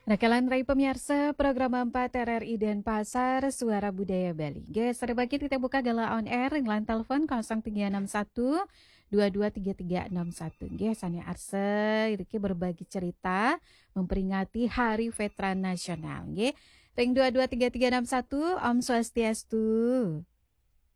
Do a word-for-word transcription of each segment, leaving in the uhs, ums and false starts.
Rakalan rai pamiarsa, program empat R R I Denpasar, Suara Budaya Bali. Nggih, sareng mangkin kita buka galah on air, ring line telepon kosong tiga enam satu, dua dua tiga tiga enam satu. Nggih, sane arsa, iriki berbagi cerita, memperingati Hari Veteran Nasional. Nggih, ring dua dua tiga tiga enam satu, Om Swastiastu.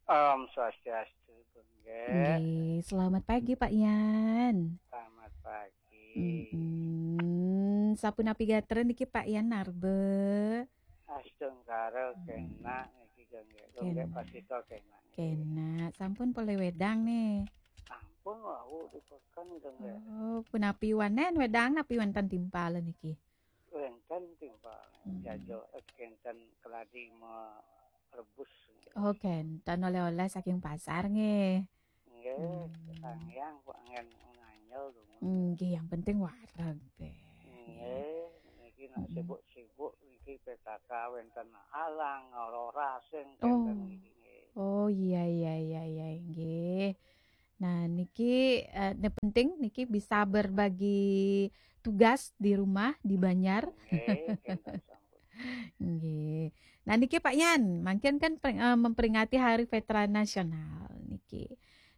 Om Swastiastu, Bu Nggih. Nggih, selamat pagi, Pak Yan. Selamat pagi. Mm-mm. Sapunapi gatra niki, Pak Yan Narbe? Astungkara, hmm, kenak niki, Gung Nggih. Gung Nggih, kenak. Pasito kenak niki. Kenak. Sampun polih wedang nih? Sampun, wau di peken, Gung Nggih. Oh, punapi wanen wedang, napi wenten timpal niki? Wenten timpal. Hmm. Jajo, eh, kenten keladi merebus. Oh, kenten oleh-oleh saking pasar nggih. Nggih, hmm, Sang Hyang kok angin nganjel, Gung. Nggih, yang penting wareg, Beh. Nggih, niki nak, hmm, sibuk-sibuk niki P K K wenten alang, ngalor asing, oh, kenten niki nggih. Oh, iya, iya, iya, iya, nggih. Nah, niki, eh, ne penting niki bisa berbagi tugas di rumah, di banjar. Nggih, kenten sampun. Nggih. Nah, niki Pak Yan, mangkin kan per-, eh, memperingati Hari Veteran Nasional niki.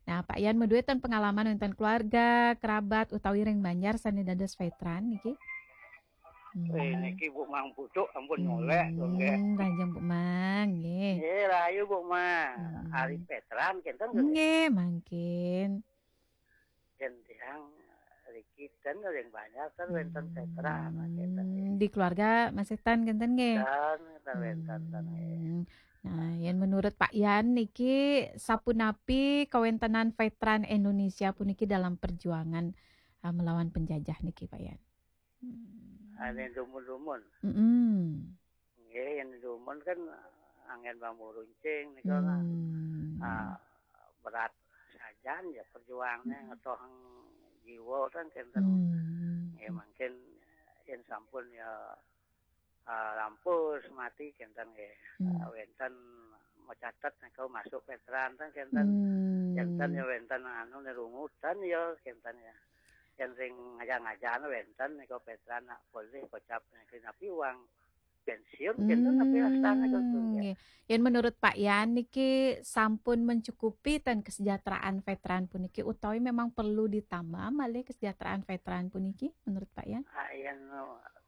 Nah, Pak Yan madué ten pengalaman wonten keluarga, kerabat utawi ring banjar sane dados veteran niki? Eh, hmm, niki Bu Mang Pucuk ampun nyolek, hmm, nggih. Rahajeng Bu Mang, nggih. Nggih, rahayu Bu Mang. Hmm. Ari veteran kenten, nggih? Nggih, mangkin. Yen tiang riki ten ring banjar ten wenten veteran, hmm, kenten, nggih. Di keluarga masih ten kenten, nggih? Ten, ten wenten, ten, nggih. Hmm. Nah, yen menurut Pak Yan niki sapunapi kawentenan veteran Indonesia puniki dalam perjuangan, eh, melawan penjajah niki, Pak Yan? Hmm. Ane dumun-dumun. Mm-mm. Nggih, yen dumun kan anggen bambu runcing nika, hmm, ah, berat sajan ya perjuangannya, hmm, ngetohang jiwa kan kenten. Hmm. Nggih, mangkin yen sampun ya, ah, lampus mati kenten nggih. Hmm. Ah, wenten macatet nika masuk veteran kan kenten. Hmm. Kenten ya wenten anu nirungutan ya kenten ya. Yen ring ngajak-ngajak wenten nika veteran nak polih kocap niki napi wang pensiun kenten napi astana kenten ya. Hmm, nggih. Yen menurut Pak Yan niki sampun mencukupi ten kesejahteraan veteran puniki utawi memang perlu ditambah malih kesejahteraan veteran puniki menurut Pak Yan? Ah, yen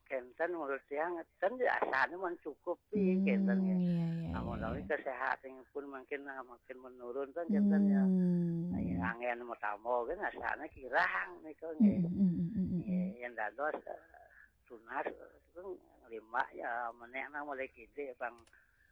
kenten menurut tiang ten asane mencukupi kenten ya. Hmm, iya, iya, iya, iya. Amun kesehatanipun mungkin, ah, makin menurun kan kenten ya. Hmm. Nah, ya, angin mau tambah kan asane kirang nika nggih. Hmm, hmm, hmm, hmm, hmm. Nggih, yen dados, eh, tunas, eh, limbak ya menek nang mulai kidik bang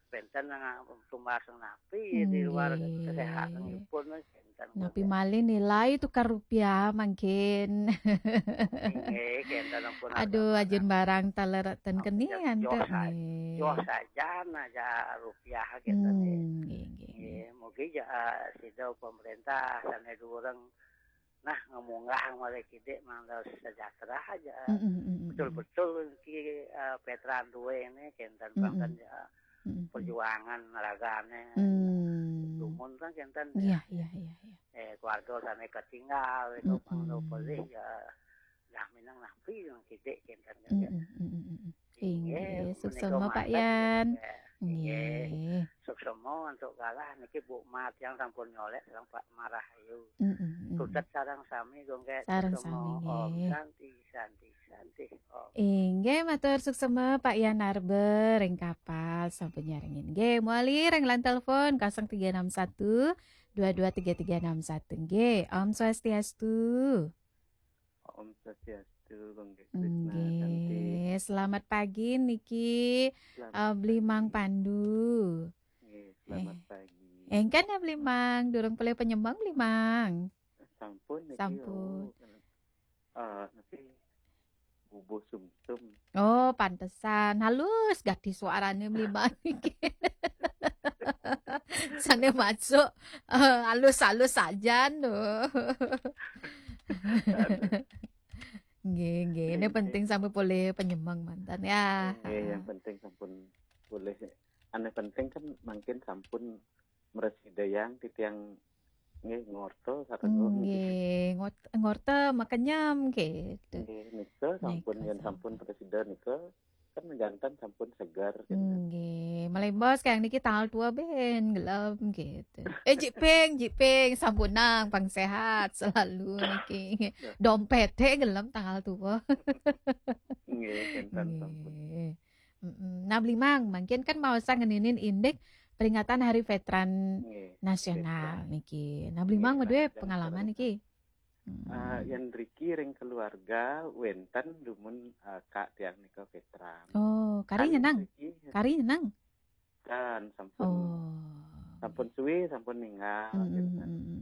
penten nang tumbas napi di luar, nggih, kesehatanipun kenten. Napi malih nilai tukar rupiah mangkin. Nggih, kenten ampun. Aduh, harga ajin barang taler ten kenian joh ten sa-, nggih. Joh sajan aja rupiah kenten nggih. Hmm, nggih, nggih, nggih. Nggih, mugi ja, eh, sida pemerintah sane dureng nah, ngemunggah malih kidik mangda sejahtera aja. Mm, mm, mm, mm, mm. Betul-betul ki, eh, veteran duwe ini kenten, mm, mm, banget ya, mm, mm, mm, perjuangan ragane. Hmm. Dumun kan kenten ya. Iya, iya, iya, iya. Eh, keluarga sane ketinggal itu, mm, mangda, mm, pelih ya, dah minang napi yang kidik kenten kan ya. Mm, mm, mm, mm, mm. Inggih, inggih, menika suksema, Pak mantep, Yan. Inggih. Inggih. Suksema untuk galah niki Bu Mat yang sampun nyolek sareng Pak Marahayu. Mm, mm, mm. Tutet sareng sami, Gung Nggih. Sareng sami, suksema, Om, nggih. Santi, Santi, Santi, Om. Inggih, matur suksema Pak Yan Narbe ring Kapal sampun nyarengin. Nggih, mawali ring line telepon kosong tiga enam satu, dua dua tiga tiga enam satu. Nggih, Om Swastiastu. Om Swastiastu, Gung Nggih, Krishna, Santi. Nggih, selamat pagi niki, selamat pagi. Eh, Bli Mang Pandu. Nggih, selamat pagi. Eh, engken ya, Bli Mang, durung polih penyembang, Bli Mang? Sampun niki, sampun. Oh, eh, niki bubuh sumsum. Oh, pantesan. Halus gati suarane Bli Mang niki. Sane masuk, eh, halus-halus sajan lho. Nggih, nggih. Ini penting sampun polih penyembang mantan ya. Nggih, yang penting sampun polih. Ane penting kan mangkin sampun mresidayang titiang nggih ngorta sareng nggih, nggih. Ngot-, ngorta makenyem nggih. Nggih, nika sampun, nika yen sampun, sampun presida nika Kan janten sampun seger. Nggih, malih bos kayang niki tanggal dua ben gelem gitu. Eh, jiping, jiping, sampunang pang sehat selalu niki. Dompete gelem tanggal dua. Nggih, janten sampun. Nggih. Mm-mm. Nah, Blimang, mangkin kan mau ngeninin indik peringatan Hari Veteran Nggih. Nasional Veteran. Niki. Nah, Blimang Nggih, madué Pak, pengalaman veteran. Niki. Hmm. Ah, yen riki ring keluarga wenten dumun, ah, Kak tiang nika veteran. Oh, kari Kan nyenang. riki Kari nyenang. Kan sampun, Oh. sampun suwi, sampun ninggal, Mm-mm, janten. mm-mm.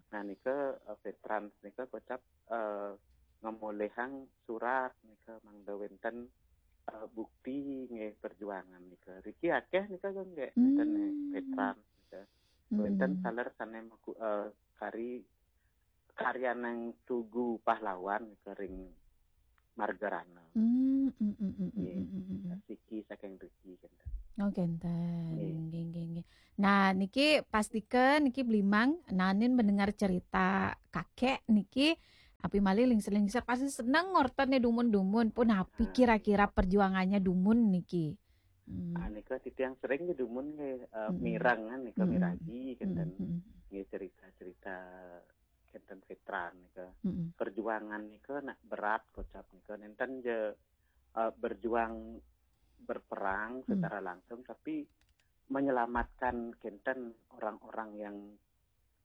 Nah, nika, eh, veteran nika kocap, eh, ngamolihang surat nika mangda wenten, eh, bukti nggih perjuangan nika. Riki akeh nika nggih, wenten, eh, Hmm. veteran nika. Wenten Mm-mm. taler sane maku-, eh, kari karyanang tugu pahlawan nika ring Margarana. Hmm, mm, mm, mm, mm, Nggih. mm, mm, mm. Siki saking riki, janten. Oh, kenten. Nggih. Nggih, nggih, nggih. Nah, niki pastikan niki Blimang nanin mendengar cerita kakek niki, api malih lingsir-lingsir pasti seneng ngortene dumun-dumun. Punapi Ah. Kira-kira perjuangannya dumun niki? Hmm. Ah, nika titiang sering nggih dumun nggih, eh, Mm-mm. mireng kan nika, Mm-mm. miragi kenten. Mm-mm. Nggih, cerita-cerita kenten veteran nika. Mm-mm. Perjuangan nika nak berat kocap nika. Nenten je, eh, berjuang berperang Hmm. secara langsung, tapi menyelamatkan kenten orang-orang yang,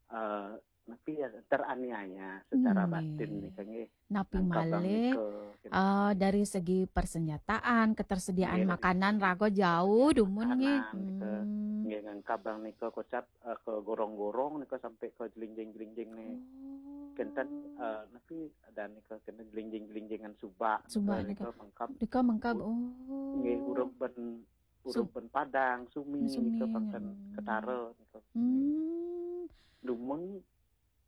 eh, napi ya, teraniaya secara Hmm, batin nggih. nika nggih. Napi Nangkabang malih, nika, kenten. eh, dari segi persenjataan, ketersediaan Nggih, makanan raga jauh dumun nggih. Makanan nika, Hmm. nggih, nangkabang nika kocap, eh, ke gorong-gorong nika sampai ke jelinjing-jelinjing nih. Oh. Kenten, eh, napi ada nika kenten jelinjing-jelinjingan subak Subak nika, nika. Nika mengkab. Nika mengkab. Bu-, Oh. Nggih, urup ben, urup Su- ben Padang, Sumi, Sumi, nika pangken hmm. Ketara nika. Hmm. Dumun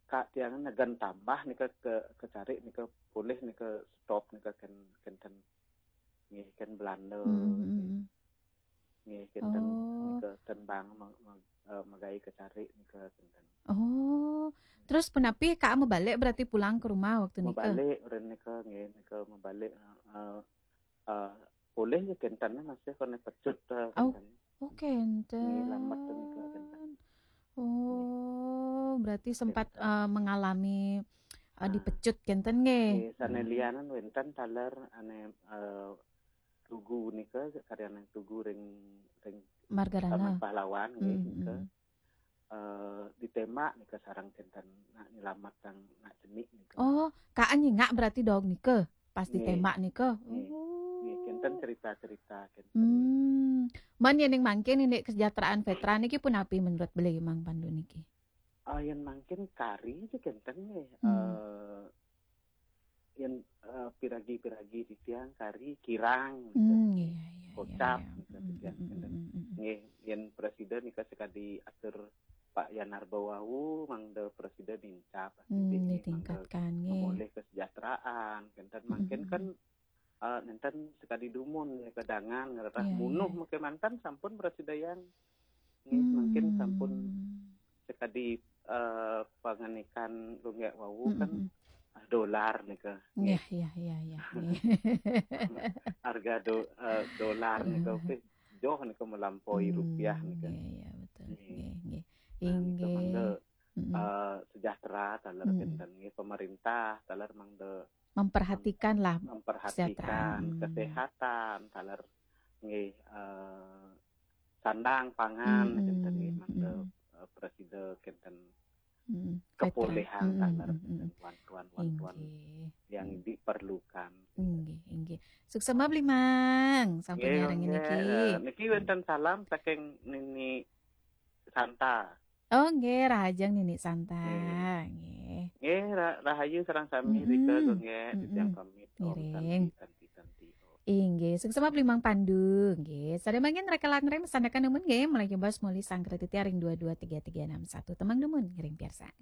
Kak tiang negen tambah nika ke, kecari nika polih nika stop nika ken, kenten nggih, ken Belanda. Hmm, hmm, hmm. Nggih, kenten Oh. nika tembang mag-, mag-, eh, magai kecari nika kenten. Oh. Terus punapi Kak mebalik berarti pulang ke rumah waktu nika? Mebalik ren nika nggih, nika mebalik, eh, eh, eh, polih ya kenten masih kena pecut, eh, Oh. kenten. Oh, kenten. Nggih, lambat nika kenten. Oh, berarti sempat, Kenten. Eh, mengalami, eh, Ah. Dipecut kenten nggih. Nggih, sane lianan wenten taler ane, eh, tugu nika, karyaning tugu ring, ring Margarana. Taman Pahlawan nggih, Hmm, nika. hmm. Eh, ditembak nika sareng kenten nak nyelametang nak cenik nika. Oh, Kak nyingak berarti dog nika. Pas Nggih. Ditembak nika. Nggih. Oh. Nggih, kenten cerita-cerita kenten. Hmm. Man yen ning mangkin indik kesejahteraan veteran niki punapi menurut Blimang Pandu niki? Ah, yen mangkin kari aja kenten nggih. Hmm. Eh, yen, eh, piragi-piragi titiang kari kirang. Hmm, iya, iya, iya, Kocap, iya. Gitu, Hmm, titiang hmm, kenten. hmm, hmm, hmm. Nggih, yen presiden nika sekadi atur Pak Yanarba wau, mangda presiden nincap. Hmm, Nggih, ditingkatkan, mangda nggih. Memulih kesejahteraan, kenten Hmm, mangkin hmm, kan, hmm. Eh, nenten sekadi dumun ya kedangan ngererah Iya, munuh iya. Mungkin mantan sampun prasida yang nggih, mungkin sampun Hmm. sekadi, eh, panganikan lunggek wau Hmm, kan hmm, hmm. ah, dolar nika. Iya, Nggih. Iya, iya, iya. Nggih. Harga do-, eh, dolar nika Eh. Oke, joh nika melampaui Hmm, rupiah nika. Iya, iya, betul. Nggih. Nggih, nggih. Nah, nika mangda, Inggih. Mm-mm. eh, sejahtera taler Mm-mm. kenten nggih, pemerintah taler mangda Memperhatikan lah memperhatikan kesejahteraan. Hmm. Kesehatan taler nggih, eh, sandang pangan Mm-mm. kenten nggih mangda, Mm-mm. eh, prasida kenten Mm-mm. kepulihan Veteran. taler Mm-mm. kenten bantuan-bantuan Inggih. yang diperlukan. Inggih, inggih. Suksma Blimang sampun Nggih, nyarengin nggih, niki. Eh, niki wenten salam saking Nini Santa. Oh, nggih, rahajeng Nini Santa. Nggih. Nggih. Nggih, ra-, rahayu sareng sami Mm-mm. Rika nggih, Mm-mm. titiang pamit. Om Ngiring. Santi, Santi, Santi, Om. Inggih, suksma Blimang Pandu. Nggih, sadaya mangkin rekelan rem sandakan dumun nggih, malih kebas muli sangkretiti ring dua dua tiga tiga enam satu. Tembang dumun ngiring piarsang.